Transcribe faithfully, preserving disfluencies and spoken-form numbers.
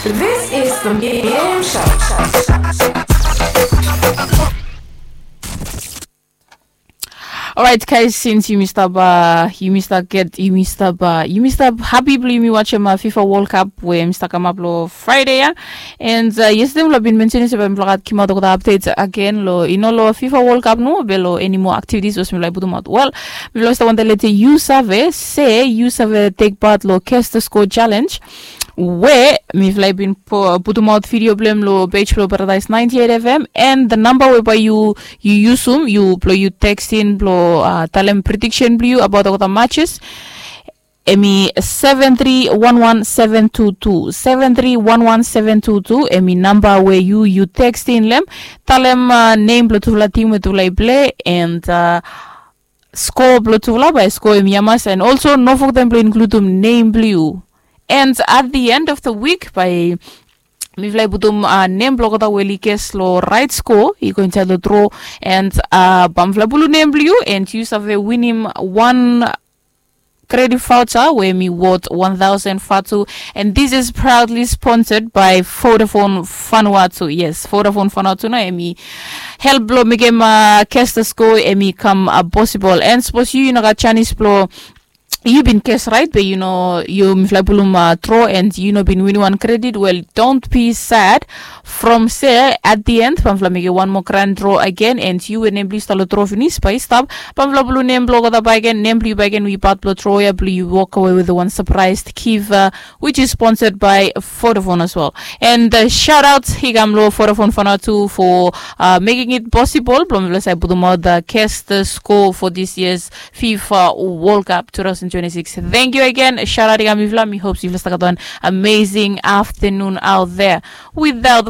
This is the Miriam Show. Alright, guys, since yumi stap uh, yumi stap get yumi stap uh, yumi stap happy blong yumi watch uh, FIFA World Cup we yumi stap kamap lo Friday ya. And uh, yesterday mifala bin mention se bae mifala gat kimaot olgeta updates again lo ino lo FIFA World Cup no be lo any more activities was mifala putum out. Well, mifala stap wante lete yu save se yu save take part lo Cast the Score Challenge. We mifala bin putum out video blong lo page lo Paradise ninety-eight F M and the number we bae yu yu yusum yu blo yu text in blo uh, talem prediction blo yu about olgeta matches. Emi seven three one one seven two two seven three one one seven two two emi namba we yu yu text in lem. Talem uh, name blo tufala team we tufala i play and uh, score blo tufala bae score emi yamas and also no forget blo include um name blo yu. And at the end of the week bae mifala i putum uh, nem blo olgeta we oli ges lo right score i go inside lo draw. And uh, bae mifala pulu nem blo yu and yu save winim one credit voucher we emi worth one thousand fatu. And this is proudly sponsored by Vodafone Vanuatu. Yes, Vodafone Vanuatu na emi help blo mekem uh, Cast the Score emi kam uh, possible. And suppose yu yu no gat chance blo yu bin ges right be yu no yu mifala pulum uh, draw and yu no bin win wan credit. Well, don't be sad. From se at the end bae mifala mekem wan moa grand draw again and yu we nem blo yu stap lo draw finis bae i stap bae mifala pulum nem blo olgeta bae again nem blo yu bae again we part blo draw ya blo yu walk away with one surprise gift uh, which is sponsored by Vodafone as well. And uh, shout out i kam lo Vodafone Vanuatu for uh, making it possible blo mifala save putum out the Cast the Score for this year's FIFA World Cup two thousand twenty-six. Thank you again. Shout out i kam mifala mi hope mifala stap gat one amazing afternoon out there. Without